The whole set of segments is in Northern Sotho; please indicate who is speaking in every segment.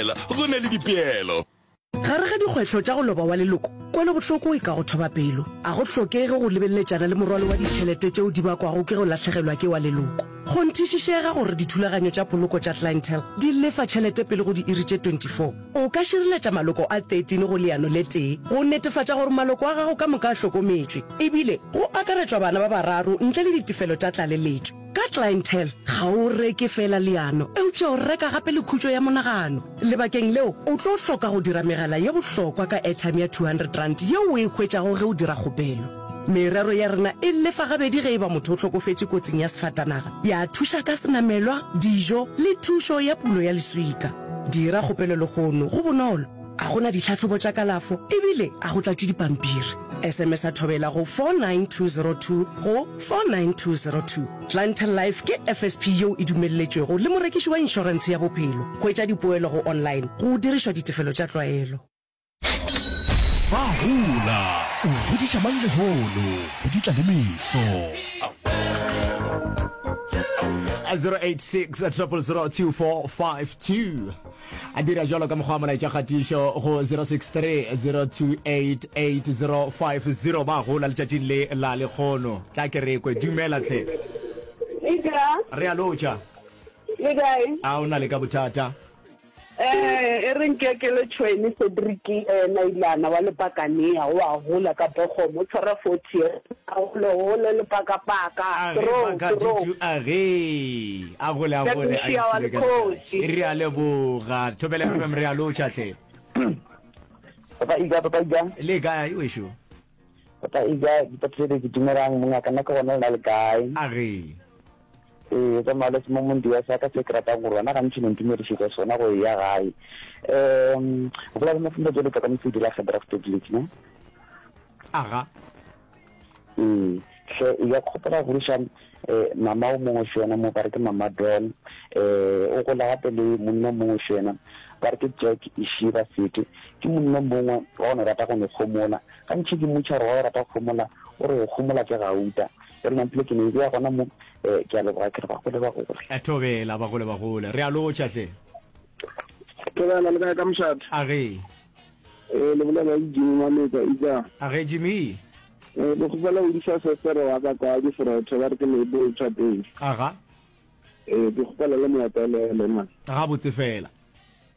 Speaker 1: Fela go na le dipeelo.
Speaker 2: Gare ga dikgwetlho tša go loba wa leloko, kwelobohloko e ka go thoba pelo. A go hlokege go lebeleletšana le morwalo wa ditšhelete tšeo di bakwago ke go lahlegelwa ke wa leloko. Kgonthišišega gore dithulaganyo tša poloko tša Clientele di lefa tšhelete pele go diiri tše 24. O ka šireletša maloko a 13 go leano le tee go netefatša gore maloko a gago ka moka a hlokometšwe, ebile go akaretšwa bana ba bararo ntle le ditefelo tša tlaleletšo. Ka Clientele, ga o reke feela leano, eupša o reka gape le khutšo ya monagano. Lebakeng leo, o tlo hloka go dira megala ye bohlokwa ka airtime ya R200 yeo o e hwetšago ge o dira kgopelo. Merero ya rena e lefa gabedi ge e ba motho o hlokofetše kotsing ya sefatanaga, ya thuša ka senamelwa, dijo le thušo ya pulo ya leswika. Dira kgopelo lehono, go bonolo, ga go na ditlhahlobo tša kalafo ebile ga go tlatšwe dipampiri. SMS-a Thobela go 49202 go 49202. Clientele Life ke FSP yeo e dumelletšwego le morekiši wa inšorentshe ya bophelo. Hwetša dipoelo go online go dirišwa ditefelo tša tlwaelo.
Speaker 1: Ba gola, o godiša mang lehono, di tla le meso.
Speaker 3: 086 0002452 a dira jalo ka mokgwa wa molaetša kgatišo go 063 028 8050 ba gola letšatšing le la lekgono tla ke re kwe dumela tlhe re a lotša
Speaker 4: Le kae?
Speaker 3: A o na le ka bothata?
Speaker 4: Eh, e re nke ke le tšhwene Cedric eh, Nailana wa Lepakanea o a gola ka Bochum o tshwara 40 years a gole gole lepakapaka
Speaker 3: Age
Speaker 4: strong
Speaker 3: baka
Speaker 4: strong
Speaker 3: tutu age a gole a gole a
Speaker 4: Tšea wa
Speaker 3: ipshine ka
Speaker 4: lekgoši.
Speaker 3: letšatši re a leboga Thobela FM re a lotšha hle
Speaker 5: Papa Iga, Papa Iga.
Speaker 3: Le kae wešo?
Speaker 5: Papa Iga, dipatlele ke dumelang mongaka nna ke gona lena le kae?
Speaker 3: Age.
Speaker 5: Ee, tsamaya le semomondiwa sa ka se ke ratang gore wena gantši no ntumedišetša sona go eya gae. Um, go la le mafumba jalo ka mosedi la Gedrafte Village, ne?
Speaker 3: Aga.
Speaker 5: Ee, hle, ya kgopela go godiša eh, mama o mongwe šo yena mo ba re ke mama Don, eh, o gola gape le monna o mongwe šo yena ba re ke Jack Ishiba Sete, ke monna o mongwe wa go no rata go no kgomola. Gantši ke mmotša gore wa go rata go kgomola, o re go kgomola ke gauta. Bjale Mampile ke no e bea gona mo, eh, ke a leboga ke re bagole bagole.
Speaker 3: Thobela bagole bagole. Re a lotšha hle.
Speaker 6: Thobela le kae ka mošate?
Speaker 3: Age.
Speaker 6: Eh, le bolela le Jimmy Maleka, itsa.
Speaker 3: Age Jimmy.
Speaker 6: Eh, le kgopela go disa sestere wa ka kwa Difrothe ba re ke Mabel Thapedi.
Speaker 3: Aga.
Speaker 6: Eh, ke kgopela le mo opelele man.
Speaker 3: Gabotse fela.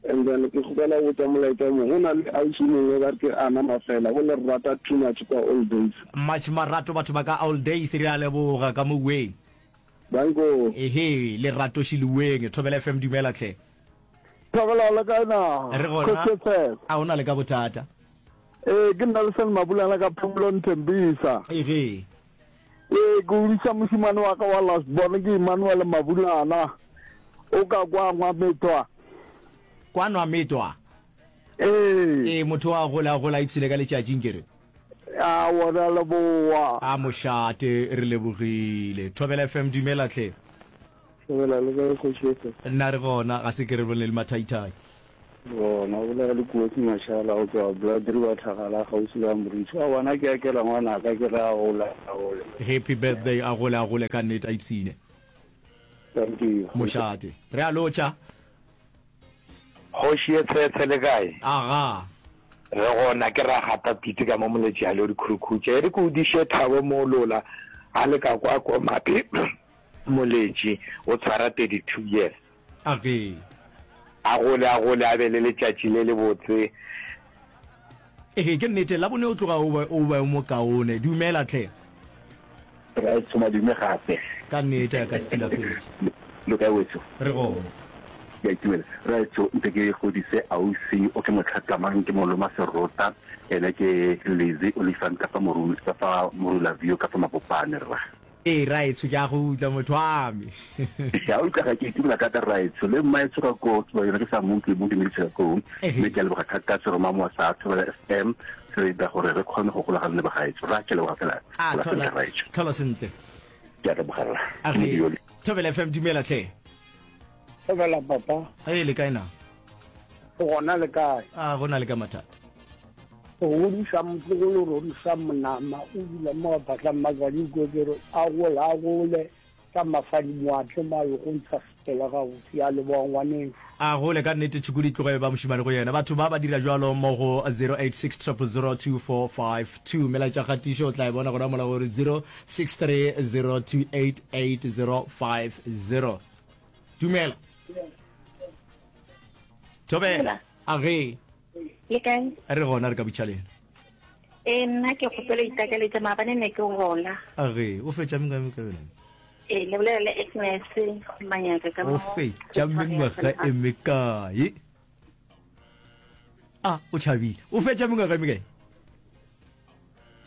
Speaker 6: And then ke kgopela go botša molaetša o mongwe. Go na le ausi o mongwe ba re ke Ana Mafela, o le rata too much kwa Old Days.
Speaker 3: Much marato batho ba ka Old Days, re a leboga ka mo weng.
Speaker 6: Danko.
Speaker 3: Ehe, lerato šileweng. Thobela FM dumela hle.
Speaker 6: Thobela le kae na?
Speaker 3: Re gona.
Speaker 6: Kgoši FM.
Speaker 3: A o na le ka bothata?
Speaker 6: Ee, ke nna Nelson Mabulana ka Phomolo Nthembisa.
Speaker 3: Ehe.
Speaker 6: Ee, ke godiša mošemane wa ka wa last born ke Emmanuel Mabulana. O ka kwa Nwametwa.
Speaker 3: Kwa Nwametwa?
Speaker 6: Ee.
Speaker 3: Ee, motho wa gola gola ipshine ka letšatši nkere.
Speaker 6: A wona leboa.
Speaker 3: A mošate re lebogile. Thobela FM dumela hle.
Speaker 6: Thobela le kae Kgoši Joseph?
Speaker 3: Nna re gona, ga se ke re bone le mathaithai.
Speaker 6: Gona, o bolela le Kgosi Mashala go tšwa Blood River Thagala kgauswi le Amoritsho. A bona ke akela ngwanaka ke re a gole a gole.
Speaker 3: Happy birthday a gole a gole ka nnete a ipsine.
Speaker 6: Thank you.
Speaker 3: Mošate. Re a lotšha.
Speaker 7: Kgoši ye tshetshe le kae?
Speaker 3: Aga.
Speaker 7: Re gona ke ra gata pitsi ka mo moletši a le o dikhurukhutša. E re ke o diše Thabo Moolola a le ka kwa Komape. Moletši o tshwara 32 years.
Speaker 3: A ge.
Speaker 7: A gole, a gole, a be le letšatši le lebotse.
Speaker 3: Ehe, ke nnete, Labone o tloga o be, o be o mokaone. Dumela tlhe.
Speaker 8: Raetsho madume gape.
Speaker 3: Ka nnete a ka se sulafetše.
Speaker 8: Le kae weso?
Speaker 3: Re gona.
Speaker 8: Ke a itumela. Raetsho nte ke godise ausi o ke mo tlhatlamang ke mo loma serota ene ke Lizzy Olifant ka fa Morula, ka fa Morula View ka fa Mabopane rra.
Speaker 3: Ee, raetsho, ke a go utlwa, motho wa me.
Speaker 8: Ke a utlwa, ga ke itumela thata, rraetsho. Le mmaetsho ka koo, ke yone ke sa mo utlwe, mo dumedise ka koo. Mme ke a leboga thata seromamowa sa Thobela FM, se re dira gore re kgone go golagana le bagaetsho. Rra, ke a leboga fela.
Speaker 3: A,
Speaker 8: Gola
Speaker 3: tlhola,
Speaker 8: sentle, rraetsho.
Speaker 3: tlhola sentle.
Speaker 8: Ke a leboga, rra.
Speaker 3: A
Speaker 8: Ke
Speaker 3: re,
Speaker 8: modiole.
Speaker 3: Thobela FM, dumela tlhe.
Speaker 9: Thobela, papa.
Speaker 3: Ee, le kae na?
Speaker 9: O gona le kae?
Speaker 3: A, go na le ka mathata.
Speaker 9: Go godiša motlogolo Rorisang Monama o dula mo ga Phatla Mmazali Kokero a gole a gole ka mafadi moatle mo a yo go ntsha. Phela gabotse, ya leboga ngwanešu.
Speaker 3: A gole ka nnete tšhukudu e tloge e ba mošemane go yena. Batho ba ba dira bjalo mo go 086 000 2452. Melaetša kgatišo o tla e bona gona mola go 063 028 8050. Dumela. Thobela. A ge.
Speaker 10: Le kae?
Speaker 3: Re gona re ka butšha lena.
Speaker 10: Ee, nna ke kgopela itakeletša maabane ne ke gola.
Speaker 3: A ge, o fetša mengwaga e mekae wena?
Speaker 10: Ee, le bolela le Agnes Manyaka ka
Speaker 3: O fetša mengwaga e mekae? A, o tšhabile. O fetša mengwaga e mekae?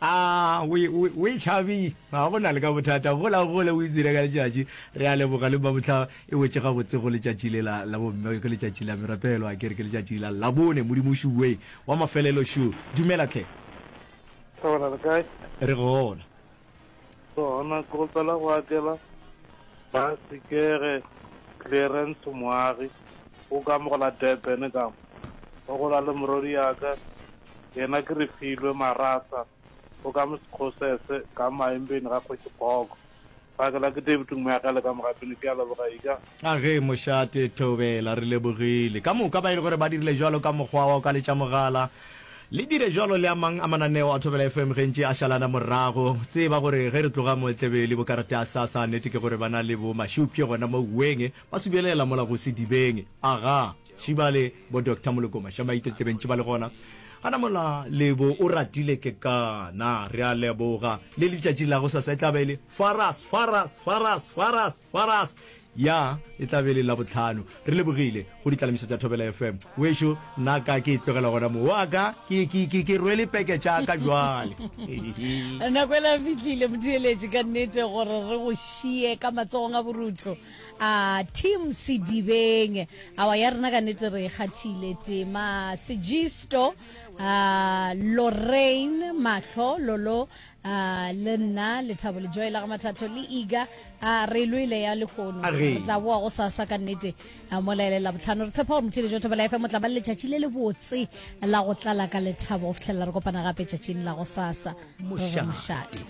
Speaker 3: A, o e, o e tšhabile. Ga go na le ka bothata. Gola gole o itsire ka letšatši. Re a leboga le mamohla e wetše gabotse go letšatši le la, la bomme, ke letšatši la merapelo, a ke re ke letšatši la Labone. Modimo šuwe. Wa mafelelo šo. Dumela hle.
Speaker 6: Thobela le kae?
Speaker 3: Re gona.
Speaker 6: Gona ke kgopela go akela ba sekege Clarence Moagi o ka mo go la Durban ka mo. O gola le morwedi ya ka yena ke Refilwe Marasa o ka mo Sekgosese ka Maembeni ga Kgoši Phoko. Bakela ke David Moyagele ka Mogapene ke a leboga Ika.
Speaker 3: A ge mošate Thobela re lebogile. Ka moka ba e le gore ba dirile jwalo ka mokgwa wa go ka letša mogala. Le dire jwalo le a mang a mananeo a Thobela FM ge ntše a šalana morago. Tseba gore ge re tloga mo tlebe le bo karate a sasa nnete ke gore ba na le bo Mashupje gona mo Uweng ba subelela mola go Sedibeng. Aga! Šibale bo Doctor Moloko Mashamaite tlebe ntše ba le gona. Gana mola Lebo o ratile ke kana. Re a leboga. Le letšatši la gosasa e tla be e le Faras, Faras, Faras, Faras, Faras. Ya, e tla be e le Labohlano. Re lebogile go ditlalemiša tša Thobela FM. Wešo, nna ka ke e tlogela gona mo. Wa ka, ke, ke, ke, ke rwele peke tša ka bjale.
Speaker 11: Nako e la fihlile motheeletši ka nnete gore re go šie ka matsogong a borutho a team Sedibeng. Awa ya rena ka nnete re e kgathile tema. Sejisto, uh, Lorraine Mahlo, Lolo, A le nna, Lethabo le Joy la ga Mathatho le Iga, a re lwele ya lehono.
Speaker 3: A re.
Speaker 11: Re tla boa go sasa ka nnete a mola e le Labohlano. Re tshepa gore motheeletši wa Thobela FM o tla ba le letšatši le lebotse la go tlala ka lethabo go fihlelela re kopana gape tšatšing la go sasa. Re re
Speaker 3: Mošate.
Speaker 11: mošate.